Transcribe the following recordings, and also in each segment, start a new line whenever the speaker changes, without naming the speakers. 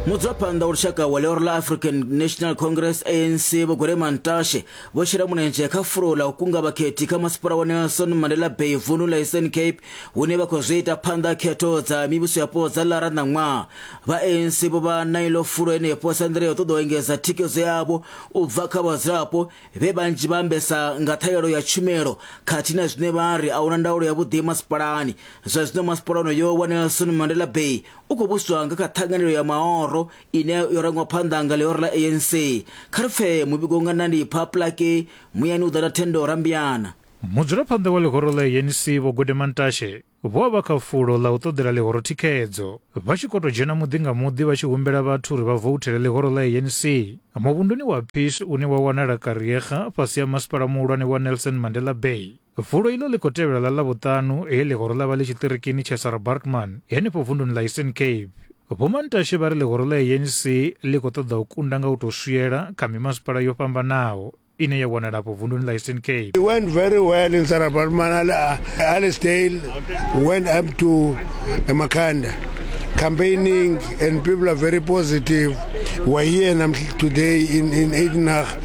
Mudzulaphanḓa wa lushaka wa ḽihoro ḽa African National Congress ANC Vho Gwede Mantashe vho shela mulenzhe kha fulo ḽa u kunga vhakhethi kha masipala wa Nelson Mandela Bay vundu ḽa Eastern Cape hune vha khou zwi ita phanḓa khetho dza mivhuso yapo dza Lara ṋaṅwaha. Vha ANC vho vha na iḽo fulo henefho sa nḓila ya u ṱoḓa u engedza thikhedzo yavho u bva kha vhadzulapo vhe vhanzhi vha ambesa nga ṱhahelelo ya tshumelo khathihi na zwine vha ri a huna ndaulo yavhuḓi masipalani. Zwa zwino masipala onoyo wa Nelson Mandela Bay u khou vhuswa nga kha ṱhanganelo ya maoro ine yo rangwa phanḓa nga ḽihoro ḽa ANC. Kha ri pfe muvhigo nga Nandipha Plaatje muyani u ḓa na Thendo Rambiana.
Mudzulaphanḓa wa ḽihoro ḽa ANC Vho Gwede Mantashe vho vha vha kha fulo ḽa u ṱoḓela ḽihoro thikhedzo, vha tshi khou tou dzhena muḓi nga muḓi vha tshi humbela vhathu uri vha vouthele ḽihoro ḽa ANC muvhunduni wa Peace une wa wanala Kariega fhasi ha masipala muhulwane wa Nelson Mandela Bay. Fulo iḽo ḽi khou tevhela ḽa Ḽavhuṱanu he ḽihoro ḽa vha ḽi tshiṱirikini tsha Sarah Baartman henefho vunduni ḽa Eastern Cape. Vho Mantashe vha ri ḽihoro ḽa ANC ḽi khou ṱoḓa u kunda nga u tou swiela kha mimasipala yo fhambanaho ine ya wanala afho vunduni ḽa Eastern Cape.
It went very well in Sarah Baartman. Alicedale went up to Makhanda campaigning and people are very positive. We're here today in Uitenhage.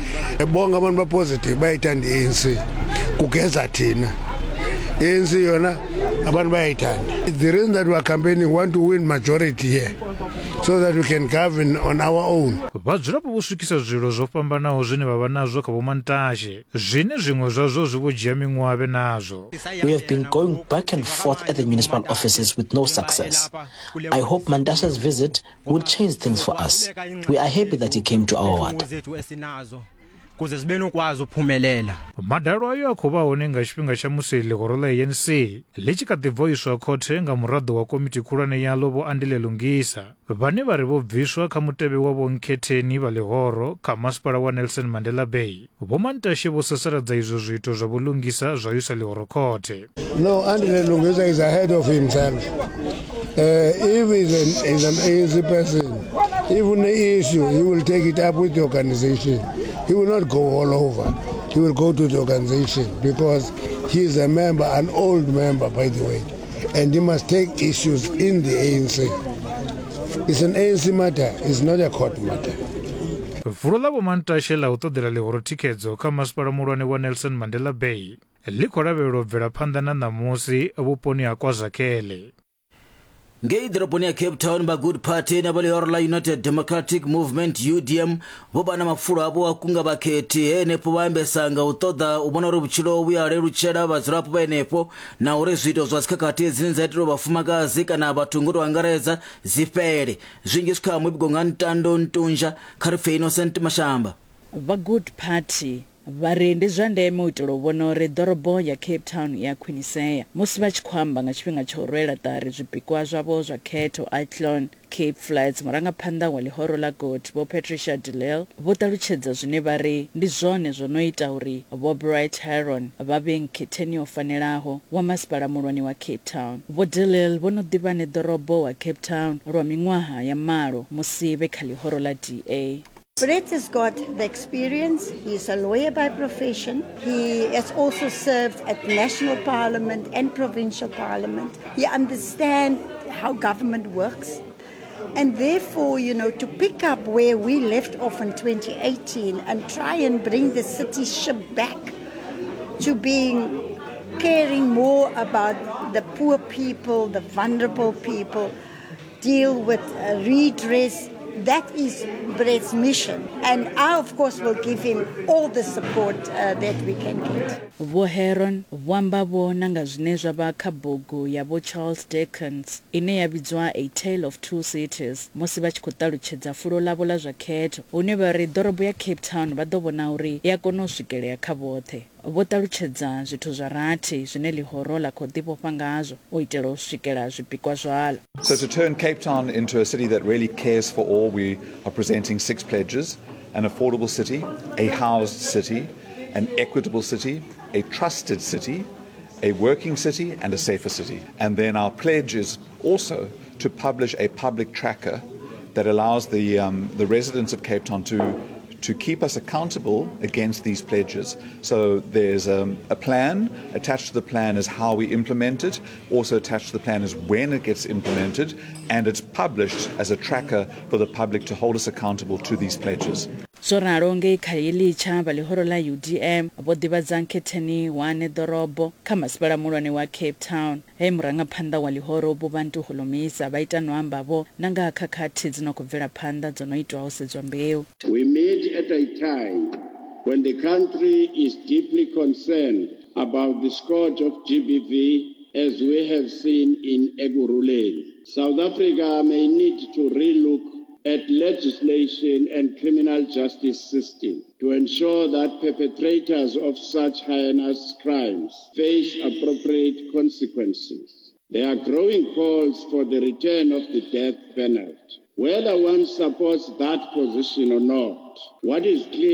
Bonke abantu ba-positive bayayithanda i-ANC. Kugeza thina. I-ANC yona abantu bayayithanda. The reason that we are campaigning, we want to win majority here so that we can govern on our own.
Vhadzulapo vho swikisa zwililo zwo fhambanaho zwine vha vha nazwo kha Vho Mantashe, zwine zwiṅwe zwazwo zwi vho dzhia miṅwaha vhe nazwo.
We have been going back and forth at the municipal offices with no success. I hope Mantashe's visit will change things for us. We are happy that he came to our ward.
Kuze sibe nokwazi uphumelela.
Madalo ayo a khou vha hone nga tshifhinga tsha musi ḽihoro ḽa ANC ḽi tshi kha ḓi bva u iswa khothe nga muraḓo wa komiti khulwane yaḽo Vho Andile Lungisa vhane vha ri vho bviswa kha mutevhe wa Vho Nkhetheni vha ḽihoro kha masipala wa Nelson Mandela Bay. Vho Mantashe vho sasaladza izwo zwiito zwa Vho Lungisa zwa u isa ḽihoro khothe.
No, Andile Lungisa is ahead of himself. If he's an ANC person, even the issue, he will take it up with the organization. He will not go all over. He will go to the organization because he is a member, an old member, by the way, and he must take issues in the ANC. It's an ANC matter, it's not a court matter.
Fulo ḽa Vho Mantashe ḽa u ṱoḓela ḽihoro thikhedzo kha masipala muhulwane wa Nelson Mandela Bay ḽi khou lavhelelwa u bvela phanḓa na ṋamusi vhuponi ha KwaZakhele.
Ngei ḓoroboni ya Cape Town, vha Good Party na vha ḽihoro ḽa United Democratic Movement UDM vho vha na mafulo avho a kunga vhakhethi he henefho vha ambesa nga u ṱoḓa u vhona uri vhutshilo vhu ya lelutshela vhadzulapo vha henefho na uri zwiito zwa dzikhakhathi dzine dza itelwa vhafumakadzi kana vhathu ngo tou angaredza dzi fhele. Zwinzhi zwi kha muvhigo nga Ntando Ntunja, kha ri pfe Innocent Mashamba.
Vha Good Party vha ri ndi zwa ndeme u itela u vhona uri ḓorobo ya Cape Town i a khwinisea. Musi vha tshi khou amba nga tshifhinga tsha u rwela ṱari zwipikwa zwavho zwa khetho Athlone, Cape Flats, murangaphanḓa wa ḽihoro ḽa Good Vho Patricia de Lille vho ṱalutshedza zwine vha ri ndi zwone zwo no ita uri Vho Bright Heron vha vhe nkhetheni yo fanelaho wa masipala muhulwane wa Cape Town. Vho de Lille vho no ḓi vha neḓorobo wa Cape Town lwa miṅwaha ya malo musi vhe kha ḽihoro ḽa DA.
Brett has got the experience. He's a lawyer by profession. He has also served at national parliament and provincial parliament. He understands how government works. And therefore, you know, to pick up where we left off in 2018 and try and bring the city ship back to being caring more about the poor people, the vulnerable people, deal with redress. That is Brett's mission. And I, of course, will give him all the support that we can get.
Vho Heron vho amba vho na nga zwine zwa vha kha bugu ya Vho Charles Dickens ine ya vhidzwa A Tale of Two Cities musi vha tshi khou ṱalutshedza fulo ḽavho ḽa zwa khetho hune vha ri ḓorobo ya Cape Town vha ḓo vhona uri i a kona u swikelea kha vhoṱhe. Vho ṱalutshedza zwithu zwa rathi zwine ḽihoro ḽa khou ḓivhofha ngazwo u itela u swikela zwipikwa zwaḽo.
So to turn Cape Town into a city that really cares for all, we are presenting six pledges: an affordable city, a housed city, an equitable city, a trusted city, a working city, and a safer city. And then our pledge is also to publish a public tracker that allows the residents of Cape Town to to keep us accountable against these pledges. So there's a plan. Attached to the plan is how we implement it. Also attached to the plan is when it gets implemented, and it's published as a tracker for the public to hold us accountable to these pledges.
Zwo ralo ngei Khayelitsha, vha ḽihoro ḽa UDM vho ḓivhadza nkhetheni wane ḓorobo kha masipala muhulwane wa Cape Town, he murangaphanḓa wa ḽihoro Vho Bantu Holomisa vha ita no amba vho na nga ha khakhathi dzi no khou bvela phanḓa dzo no itwa ho sedzwa mbeu.
We meet at a time when the country is deeply concerned about the scourge of GBV as we have seen in Ekurhuleni. South Africa may need to relook at legislation and criminal justice system to ensure that perpetrators of such heinous crimes face appropriate consequences. There are growing calls for the return of the death penalty. Whether one supports that position or not, what is clear